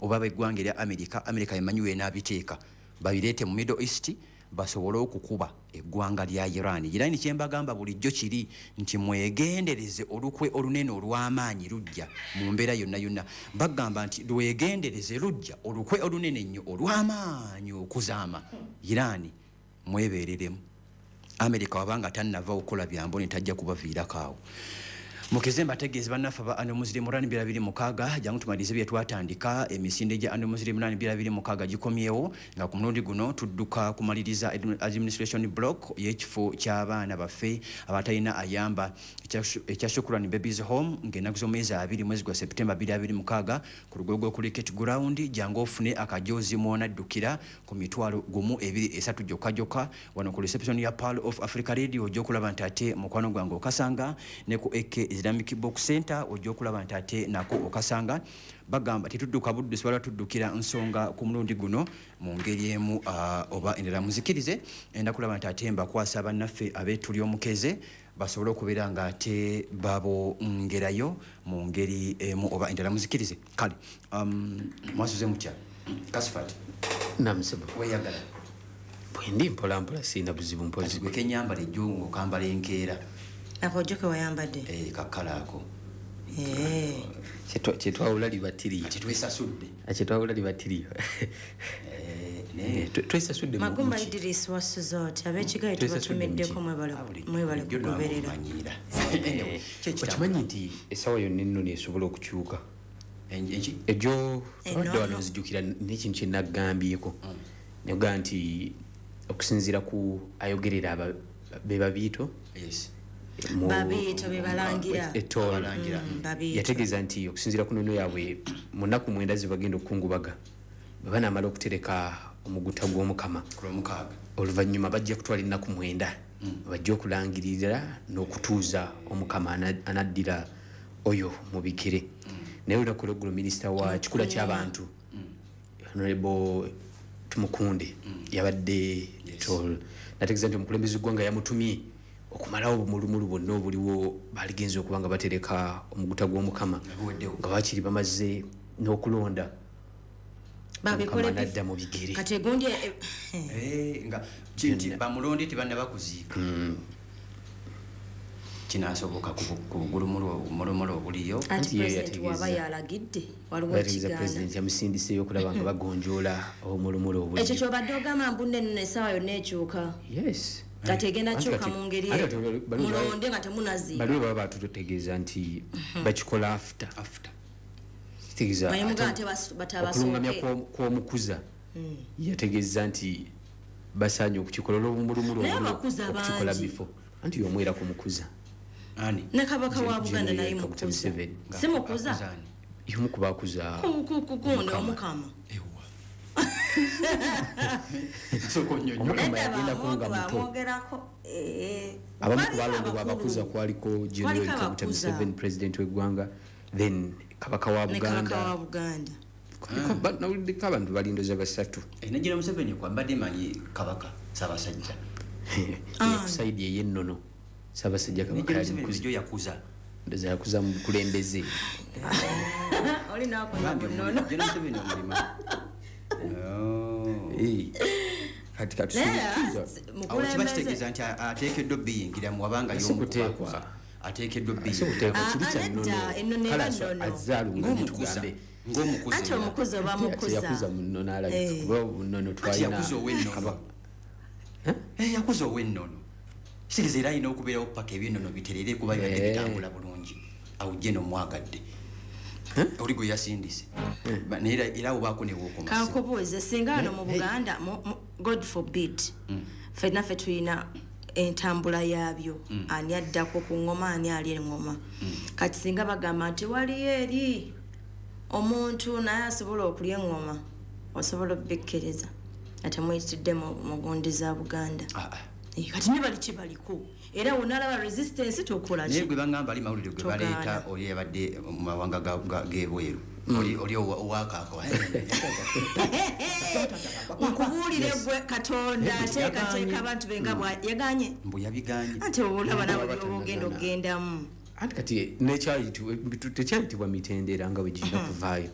Oba beggwanga erya America, America emanyi wenaabiteeka, babireete mu Middle East basobole okukuba eggwanga lya Iran. Iran, kyembagamba bulijjo kiri nti mwegendereze, olukwe olunene olw'amaanyi lujja mu mbeera yonna yonna. Bagamba nti lwegendereze, lujja, olukwe olunene ennyo olw'amaanyi okuzaama Iran. Mwebereremu, America wabanga tannava okukola byambone, tajja kubaviirako awo. Mukeze mbategeeze bannaffe aba Annual Muslim Run 2026, jangu tumalirize bye twatandika. Emisinde gya Annual Muslim Run 2026 gikomyewo, nga ku mulundi guno tudduka kumaliriza administration block y'ekifo ky'abaana baffe abatalina ayamba ekya Shukran Babies Home, ng'ennaku z'omwezi 2 mwezi gwa September 2026 ku Lugogo Cricket Ground. Jangu ofune akajozi mwonaddukira ku 20,000, 3 gyokka gyokka. Wano ku reception ya Pearl of Africa Radio ojja okulaba nti ate mukwano gwange okasanga, ne ku AK Islamic Book Center ojja okulaba nti ate nako okasanga. Bagamba tetudduka buddusi, wala tuddukira nsonga ku mulundi guno mu ngeri emu oba endala. Muzikirize enda kulaba nti ate mbakwasa bannaffe ab'etuli omukeze basobole okubeera nga ate babongerayo mu ngeri emu oba endala. Muzikirize. Kale, mwasuze mutya? Kasifat? Namusebo. Weyagala? Bwendi mpolampola, siina buzibu mpozi. Gwe kenyambala ejjo ngaokambala enkeera. Akojjo ke wayambadde? Eh, kakala ako. Kyetwawula libatiriyo. Kati twesasudde. Kyetwawula libatiriyo. Naye Twesasudde Magumba. Mu ki? Idris, wasuze oti? Abekigayi Twesasudde mu ki? tubatumiddeko, mwebale Bulijjo kugoberera. namumanyiira. Anyway, kyekitambula. Okimanyi nti essaawa yonna ennono esobola okukyuka? Enki? Ejo Ennono. abadde wano, nzijukira n'ekintu kyenagambyeko, negaa nti okusinziira ku ayogerera be babiito Babiito be balangira. Etol. Abalangira. Babiito. Yategeeza nti okusinziira ku nnono yaabwe, mu nnaku 9 zebagenda okukungubaga, bwe banaamala okutereka omuguta gw'Omukama ku Lwomukaaga, oluvannyuma bajja kutwala ennaku 9 bajja okulangirira n'okutuuza Omukama anaddira oyo mu bigere. Naye olunaku olweggulo minisita wa kikula ky'abantu, Honorable Tumukunde, yabadde tol, nategeeza nti omukulembeze gwanga yamutumye okumalawo obumulumulu bwonna obuliwo. Baligenza okuba nga batereka omuguta gw'Omukama nga guweddewo, nga bakiri bamaze n'okulonda Babikole. Omukama anadda mu bigere. Kati egundi Eh, nga nti bamulonde tebannaba kuziika, kinasoboka ku bugulumulumulu obuliyo? Anti Anti ye president waba yalagidde, waliwo yategeeza ekigaana? President yamusindiseeyo okulaba nga bagonjoola obumulumulu Ekyo obuliyo. kyobadde ogamba mbu nne essaawa yonna ekyuka. Yes. Kati egenda Anti kyuka mu ngeri anti eyo. kati Mulonde nga temunaziika. Baliwe baba batutegeeza nti bakikola after. After. Kitegeeza Naye mugamba ate nti okulungamya batabasooke. kw'omukuza yategeeza nti basaanye okukikola olw'obumulumulu Naye obuliwo, abakuza okukikola bangi. before, anti y'omwera ku mukuza. Ani? Ne kabaka wa Buganda General naye Kaguta mukuza. Museveni. Si mukuza? Akuza ani? Y'omu ku bakuza. Kugundi Omukama. Omukama. Ewa, sooka onnyonnyola. Omukama Nedda. yagendako nga muto. Bamwogerako. Abamu ku Waliyo balondebwa abakulu. abakuza kwaliko General Kwaliko Kaguta abakuza. Museveni, president w'eggwanga, then kabaka wa Ne kabaka Buganda. wa Buganda. Nawuliddeko abantu balindoza basatu. Eh, negira Museveni kwa mbadde manyi kabaka Ssaabasajja. Ku side ey'ennono Ssaabasajja kabaka Negira yali Museveni mukuza. bulijjo yakuza. Ndoza yakuza mu bukulembeze. Oli nakola Bambi bunono. General Museveni omulima. Oh. Eh, kati kati Naye Awo kiba mukulembeze. kitegeeza nti ateekeddwa obiyingiramu wabanga Si y'omu ku kuteekwa. bakuza ateekeddwa Si obiyingira. kuteekwa, Ah, kiri ah, kya nedda, nnono. ennono Kale eba nnono. azze alungamye Ng'omukuza. tugambe. Ng'omukuza Anti era. omukuza oba mukuza. Yakuza mu nnono alabika, Eh. kuba mu nnono Anti twalina yakuza ow'ennono. kabaka. Eh, yakuza ow'ennono, kitegeeza era alina okubeerawo paka ebyennono biterere, kuba bibadde bitambula bulungi. Awo gye nomwagadde oli gwe yasindise. Naye era awo baako newookoma. Kankubuuze, singa wano mu Buganda, God forbid, ffenna ffe tulina entambula yaabyo, ani addako ku ngoma, ani ali eŋŋoma, kati singa bagamba nti waliyo eri omuntu naye asobola okulya eŋŋoma, osobola obikkiriza nga temuyitidde mu gundi za Buganda? Eh, kati ne bali kibaliko era wonalaba resistance tokola Naye ki? gwe bagamba ali mawulire gwe Togaana. baleeta oli yabadde mu mawanga g'ebweru, oli owakaako. Nkubuulire gwe, Katonda ateekateeka abantu be nga bwa yaganye. Mbu yabiganye. Anti olaba nawe Baba byoba ogenda tannagaana. okugendamu. Anti kati tekyayitibwa mitendera nga bwe girina kuvaayo.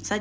Sajja.